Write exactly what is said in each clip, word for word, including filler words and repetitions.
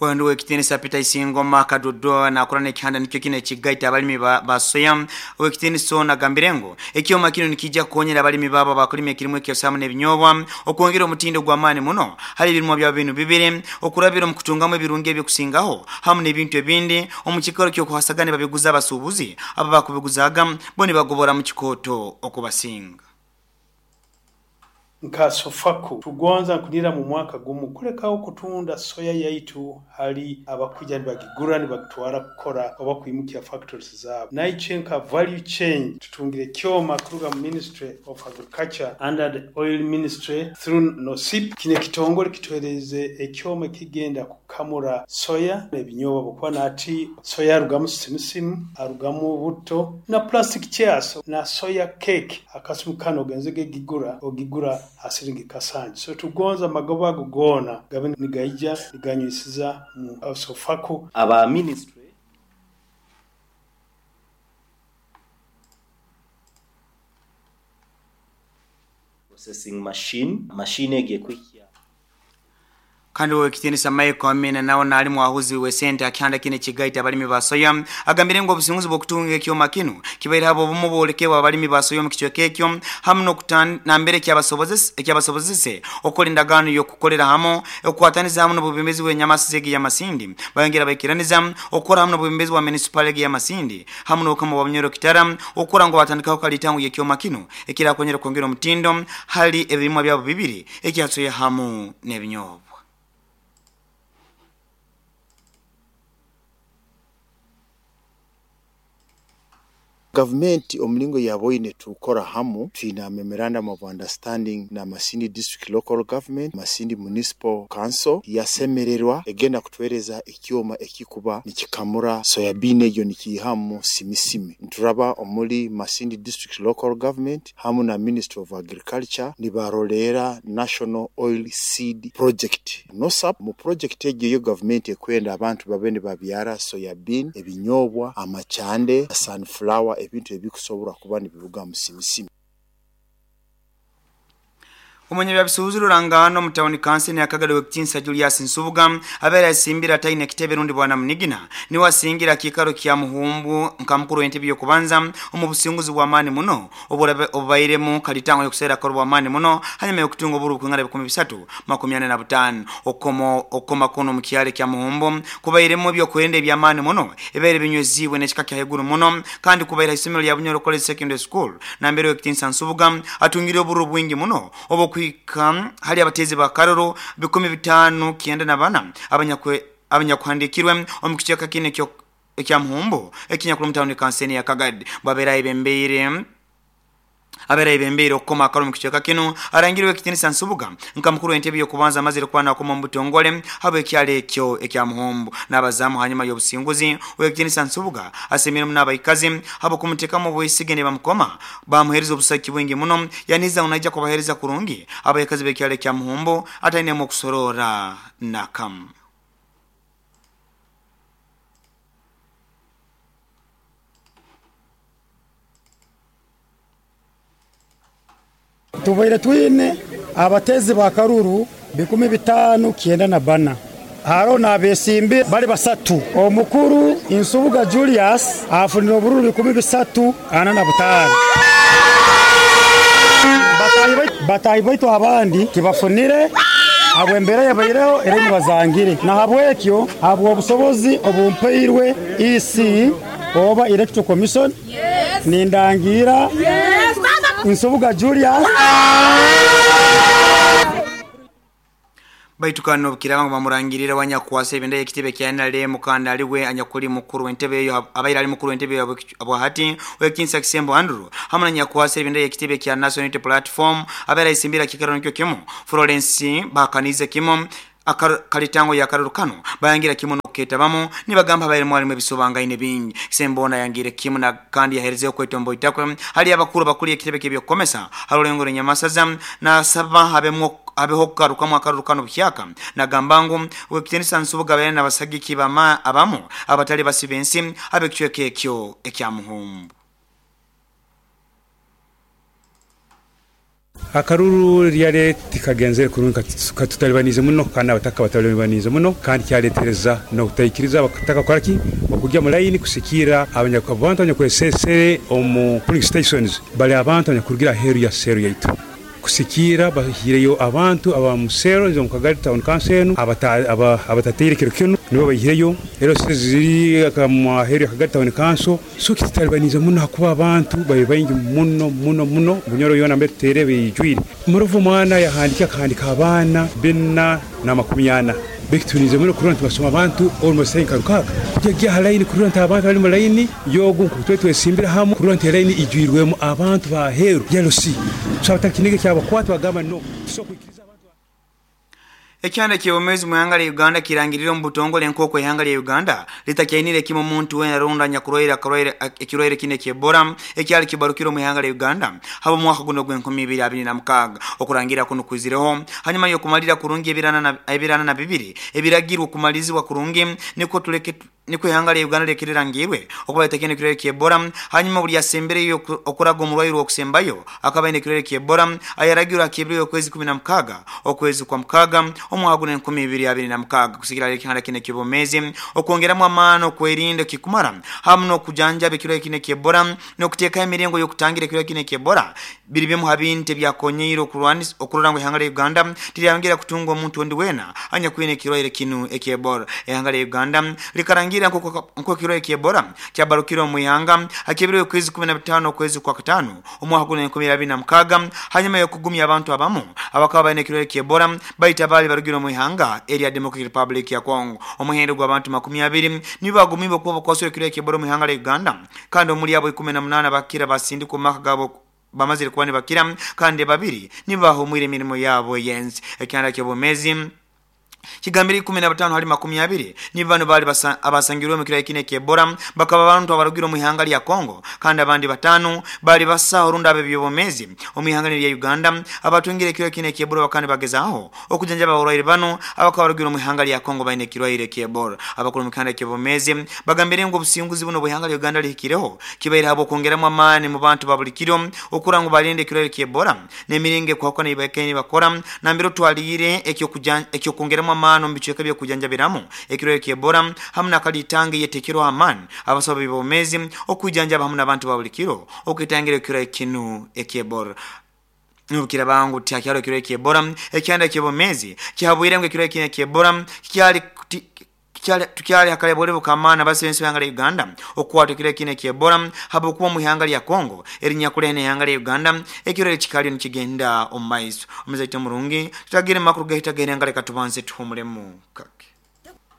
Wanduwe kitinisa Peter Isingoma kadodo na kurana ekihanda nikyo kine ekigaita abalimi ba, ba soya. Owekitinisa nagambire ngu ekyoma kino nikijja kukonyera abalimi babo abakulima ekirimu ekyosamu n'ebinyobwa okwongera omutindo gw'amaani muno hali ebirimwa byabo binu bibiri, okurabira omu kutungamu ebirungi ebyokusingaho hamu n'ebintu ebindi omu kikaro ky'okuhasagana babiguza abasuubuzi aba bakubiguzaga bo nibagobora mu kikooto okubasinga. Nka SOFACO tugonza nkunira mu mwaka gumu kulekaho kutunda soya yaitu hali abakuja nibagigura nibagitwara kukora oba kwimukya factories zabo. Naiche nka value chain tutungire kyoma kuruga mu Ministry of Agriculture under the Oil Ministry through NOSIP. Kine kitongole kituhereze ekyoma kigenda kukamura soya n'ebinyobwa, bukuba nati soya arugamu simusimu, arugamu buto na plastic chairs na soya cake. Akasimu kano ogenzege gigura ogigura asiringi kasanji. So tugonza magoba ago gona gabe nigaija niganywisiza mu SOFACO. Aba ministry processing machine machine egekwikia. Kandi wekitinisa Michael Amina nawo nali mwahuzi we sente akihanda kine kigaita abalimi ba soya agambire ngo obusinguzi bw'okutunga ekyoma kino kibaire habo obumu bwolekewa abalimi ba soya mu kicweka ekyo hamu n'okutambere ekyabasobozese ekyabasobozese okola endagaano y'okukolera hamu okukwataniza hamu n'obubembezi bw'enyamasisi egi y'Amasindi. Bayongera baikiraniza okukora hamu n'obubembezi bwa municipal egi y'Amasindi hamu n'obukama bwa Bunyoro Kitara okukora ngo batandikaho kalitango y'ekyoma kino ekirakonyera kwongera omutindo hali ebirimwa byabo bibiri ekya soya hamu n'ebinyobwa. Gavumenti omulingo yaboine tukora hamu twina memorandum of understanding na Masindi District Local Government, Masindi Municipal Council yasemererwa egenda kutwereza ekyoma ekikuba nikikamura soyabine eyo nikihamu simisimi. Nturaba omuli Masindi District Local Government hamu na Ministry of Agriculture nibarolera National Oil Seed Project NOSAP. Mu project egyo yo government ekwenda abantu babe nibabyara soyabin, ebinyobwa, amachande, sunflower, ebintu ebikusobora kuba nibiruga mu simisimi. Omunye byabisuubuzi rurangano mu town council yakagala wekitinsa Julius Nsubuga abeera asimbira taine kitebe rundi bwana Munigina niwe asingira kikaro kya Muhumbu nka mukuru w'entebe y'okubanza omu businguzi bw'amaani muno obubairemu kalitango y'okuseera karo bw'amaani muno hanyuma y'okutunga oburu bukungana bikumi bisatu makumi ana na butaano. Okomo okoma kono mu kyalo kya Muhumbu kubairemu ebyokwerinda eby'amaani muno ebaire binywezibwe n'ekika kya heguru muno kandi kubaira isomero lya Bunyoro College Secondary School nambere wekitinsa Nsubuga atungire oburu bwingi muno obo hali abatezi ba karoro bikumi bitano kienda na bana abanyakwe abanyakuhandikirwe omu kicheka kine kyo ekya Muhumbu ekinyakuru mu town council ya Kagadi babera ibembeire abera ibembeire okukoma akaro mu kicheka kino arangiriwe kitinisa Nsubuga nka mukuru w'entebe y'okubanza amazire kwana akoma mu butongole habo ekyalo ekyo ekya Muhumbu n'abazamu hanyuma y'obusinguzi wekitinisa Nsubuga asemire mu n'abaikazi habo kumuteekamu obwesige ne bamukoma bamuhereza obusaki bwingi muno yaniza unaija kubahereza kurungi abaikazi b'ekyalo ekya Muhumbu atainemu okusorora nakamu. Tubaire twine abatezi ba karuru bikumi bitano kienda na bana haro n'abesimbi bali basatu. Omukuru Nsubuga Julius afunira obururu bikumi bisatu ana na butano. Batayi baitu abandi tibafunire abwembere yabaireho ere nibazangire na habwekyo habwo obusobozi obumpeirwe E C oba Electoral Commission. Yes. Nindangira. Yes. Nsubuga Julius. Baitukano bukiranga bamurangirira wanyakwasa ebenda ekitebe kya N R M kandi aliwe anyakuli mukuru w'entebe eyo abaira ali mukuru w'entebe abwahati wekinsa Kisembo Andrew hamwe na nyakwasa ebenda ekitebe kya National Unity Platform abaira isimbira kikaro nikyo kimu Florence bakanize kimu kalitango ya karurukano bayangira kimu noketabamo nibagamba abaire mwalimu ebisobangaine bingi. Kisembona yangire kimu na kandi yaherezeyo kwetombo itakwe hali abakuru bakuli ekitebe ky'ebyokukomesa harulengo nyamasaza na saba habemwo abeho kugarukamu akarurukano buhyaka nagamba ngu wekitinisa Nsubuga bene n'abasagiki bama abamu abatali basibensi abekicweka ekyo ekya Muhumbu. Akaruru ryale tikagenzere kurungi katutalibanize muno kandi abataka batalibanize muno kandi kyaletereza n'okutaikiriza abataka kukoraki okujya mu layini kusikira abantu abanyakwesesere omu polling stations bali abantu abanyakurugira aheeru ya seero yaitu kusikira bahireyo abantu abamusero nzo mukagari town council enu abatateire kiro kinu nibo bahireyo ero ziri akamaheri akagari town council so kitalibanize muno hakuba abantu babe baingi muno muno muno Bunyoro yona mbere tutere bijwire muruvu mwana yahandika akahandika abaana bina na makumi ana bekitunize muno kurona tubasoma abantu almost saying karukaga kujya line kurona abantu bali mu line yogu kutwe twesimbira hamwe kurona line ijwirwemo abantu baheru yalosi so abatakinige kyabakwata bagamba no so kwikiriza. Ekyanda ky'obumezi mu ihanga lya Uganda kirangirira omu butongole nk'oku ihanga lya Uganda litakyainire kimu muntu wena ronda nyakurwaire akarwaire ekirwaire kine ky'Ebola ekyali kibarukire omu ihanga lya Uganda haba omwaka guno gw'enkumi ibiri abiri na mukaaga. Okurangira kuno kwizireho hanyuma y'okumalira kurungi ebirana na ebirana na bibiri ebiragirwe okumalizibwa kurungi niko tuleke niko ihanga lya Uganda lekirangirwe okuba litakyaine ekirwaire ky'Ebola. Hanyuma buli yasembereyo okuraga omurwaire okusembayo akaba aine ekirwaire ky'Ebola ayaragirwe akebirwe okwezi kumi na mukaaga okwezi kwa mukaaga omwaka guno enkumi ibiri abiri na mukaaga. Kusikira ekihanda kine ky'obumezi okwongeramu amaani okwerinda kikumara hamu n'okujanjaba ekirwaire kine ky'Ebola n'okuteekaho emiringo y'okutangira ekirwaire kine ky'Ebola biri bimu ha bintu ebyakonyeire okurwanisa okurora ngu ihanga lya Uganda tiryayongera kutunga omuntu ondi weena anyakwine ekirwaire kinu eky'Ebola. Ihanga lya Uganda likarangira nko ekirwaire ky'Ebola kyabarukire omu ihanga hakebirwe okwezi kumi na bitaano okwezi kwa kataano omwaka guno enkumi ibiri abiri na mukaaga hanyuma y'okugumya abantu abamu abakaba baine ekirwaire ky'Ebola baita baali barugire omu ihanga erya Democratic Republic ya Congo. Omuhendo gw'abantu makumi abiri nibo bagumibwe okuba bakwasirwe ekirwaire ky'Ebola omu ihanga lya Uganda kandi omuri abo ikumi na munaana bakira basindikwa omu maka gaabo bamazire kuba nibakira kandi babiri nibo bahumwire emirimo yaabo yensi. Ekyanda ky'obumezi kigambire ikumi na batano hali makumi abiri ni bano bali abasangirwe mu kirwaire kine ky'Ebola bakaba abantu abarugire omu ihanga lya Congo kandi abandi batano bali basaho runda abebyobomezi omu ihanga lya Uganda abatungire ekirwaire kine ky'Ebola bakandi bagezaho okujanjaba abarwaire bano abakaba barugire omu ihanga lya Congo baine ekirwaire ky'Ebola. Abakuru mu kihanda ky'obomezi bagambire ngu obusinguzi buno bw'ihanga lya Uganda lihikireho kibaire habo okwongeramu amaani mu bantu ba buli kiro okura ngu balinde ekirwaire ky'Ebola n'emiringo ekuhakana ibakaine bakora nambere otwaliire ekyokwongeramu amaani omu bicweka by'okujanjabiramu ekirwaire ky'Ebola hamu n'akalitange yetekerwa amaani abasawo b'obumezi okujanjaba hamu n'abantu ba buli kiro okwetangira ekirwaire kinu eky'Ebola. Nubukira bangu tyakyalo ekirwaire ky'Ebola ekyanda ky'obumezi kihabwire ngu ekirwaire kinu eky'Ebola kikyali tukyali akalebole bukamana basensi ihanga lya Uganda okukwata ekirwaire kino eky'Ebola habwokuba omu ihanga lya Congo erinyakulene ihanga lya Uganda ekirwaire kikaliyo nikigenda omu maiso. Omuzaito murungi tutagire makuru gahitagenda nga leka tubanze tuhumulemu kake.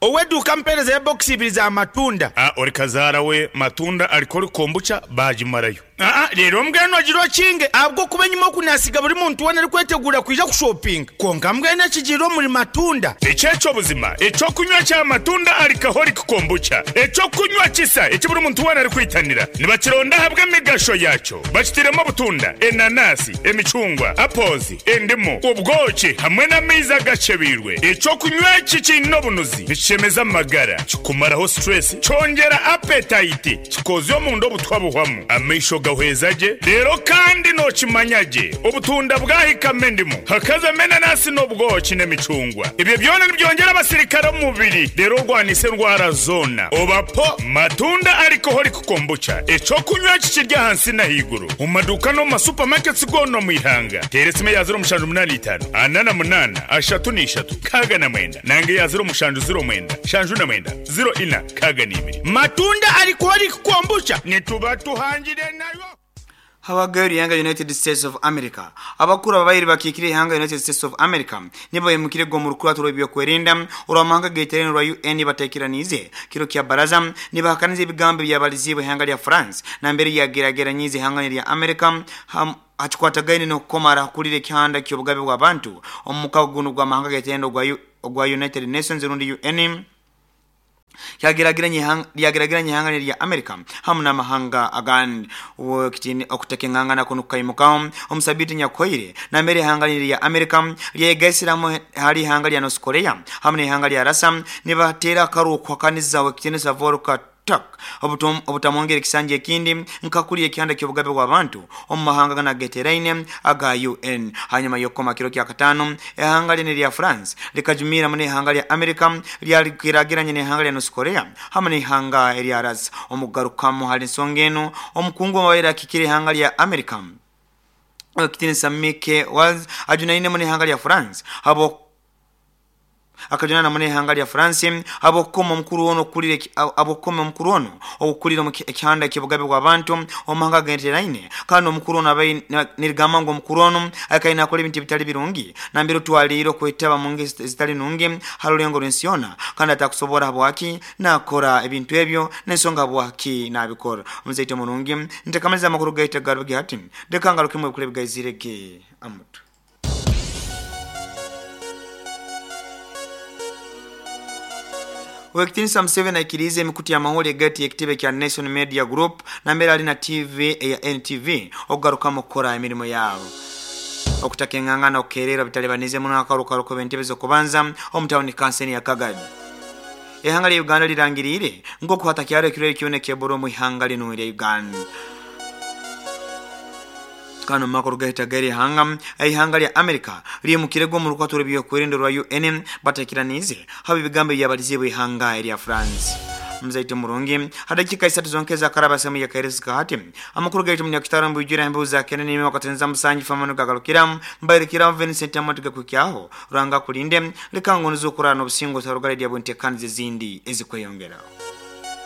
Oweduka mpereza ya box ibiri za matunda. Ah, ori kazara we matunda alikori kombucha bajimarayo. Ah, rero mbweno agirwa kinge abwo kuba nyuma kunasiga buri muntu wena ari kwetegura kuja kushopping. Konka mbwene kigiro muri matunda. Echecho buzima, echo kunywa cha matunda alcoholic kombucha. Echo kunywa kisa, echi buri muntu wena ari kwitanira. Nibakironda habwe migasho yacho. Bakitiremo butunda, enanasi, emicungwa, apples, endimu, ubwoki hamwe n'amaizi agacebirwe. Echo kunywa iki kino bunuzi. Nishemeza magara, kikumaraho stress, cyongera appetite, kikozyo mu ndo butwabuhwamu. Amaisho gahwezaje, rero kandi no kimanyaje. Ubutunda bwahikame ndimu, hakaza menanasi n'ubwoki n'emicungwa. Ibyo byona nibyongera abasirikare mu mubiri, rero rwanise ndwara zona. Obapo matunda alcoholic kombucha. Echo kunywa kikirya hansi na higuru. Mu maduka no ma supermarkets gono mu ihanga. Teresime ya zero mushanju munani itanu, anana munana, ashatu n'ishatu, kaga na mwenda. Nange ya zero mushanju zero mwenda, shanju na mwenda, zero ina, kaga n'ibiri. Matunda alcoholic kombucha nituba tuhangire nayo. Habagari yanga United States of America abakuru ababairi bakikire ihanga United States of America nibo yemukire go murukura turo byo kwerinda uramanga getereno rwa U N batekiranize kiro kya baraza nibahakanize ibigambo byabaliziwe ihanga lya France na mbere yagerageranyize ihanga lya America hachikwatagaine no kukomara kulire kihanda ky'obugabe bw'abantu omukago guno gw'amahanga getereno gwa United Nations rundi U N kyagerageranye lyageragiranye ihanga lya America hamu n'amahanga agandi wokitini okutekengangana kuno kaimuka omusabiti nyakoire na mbere ihanga lya America lyegesiramu hali ihanga lya North Korea hamu n'ihanga lya Russia nibatera akaru kwakaniza wekitini sa Volker Tak obutamwongera ekisanja ekindi nkakuli ekyanda ky'obugabe bw'abantu omu mahanga ganageteraine aga U N. Hanyuma y'okukoma kiro kya katano ehanga lye lya France likajumira mu n'ehanga lya America lyakiragiranye n'ehanga lya North Korea hamwe n'ehanga erya Russia. Omugarukamu hali ensonga eno omukungu wabaire akikira ehanga lya America Kitinisa Mike Waltz ajunaine mu n'ehanga lya France abo akajana mune hanga lya France abokoma omukuru ono kulire abokoma omukuru ono okukulira ekyanda ekibugabe bw'abantu omahanga genteraine kandi omukuru ono abai nirigamba ngo omukuru ono akaina akola ebintu bitali birungi nambiro twaliro kwetaba mu ngeri zitali nungi halulengo lwensiona kandi atakusobora bwaki nakora ebintu ebyo n'ensonga bwaki nabikora. Omuzaito mulungi ntekamaliza amakuru gaita garugi hati ndekanga lukimwe kule bigayizirege amutu. Wekitinisa Museveni aikirize emikutu ya maholi gati ekitebe kya Nation Media Group na mbere alina T V ya N T V okugarukamu okukora emirimu yabo. Okutaka engangana okukerera bitalibanize muno akarukaruko b'entebe z'okubanza omu tawuni kanseni ya Kagadi. Ehanga lya Uganda lirangirire ng'okuhata kyaro ekirwere kyona ekyebora omu ihanga lino erya Uganda. Kano makuru gahita gari hanga ihanga lya America limukirego mu rukwato rw'ebyokwerinda rwa U N batakiranize haba ibigambo byabalizibwe ihanga erya France. Mzaito murungi hadakika isatu zonkeza karaba semu ya kairesi hati amakuru gaitu munyakitaro mbujira mbuza kenene nime wakatenza musanji famano gagalukira mbairikira Vincent Amatiga kukyaho ranga kulinde likango nzukura no busingo sarugale dia bunte kanzi zindi ezikweyongera.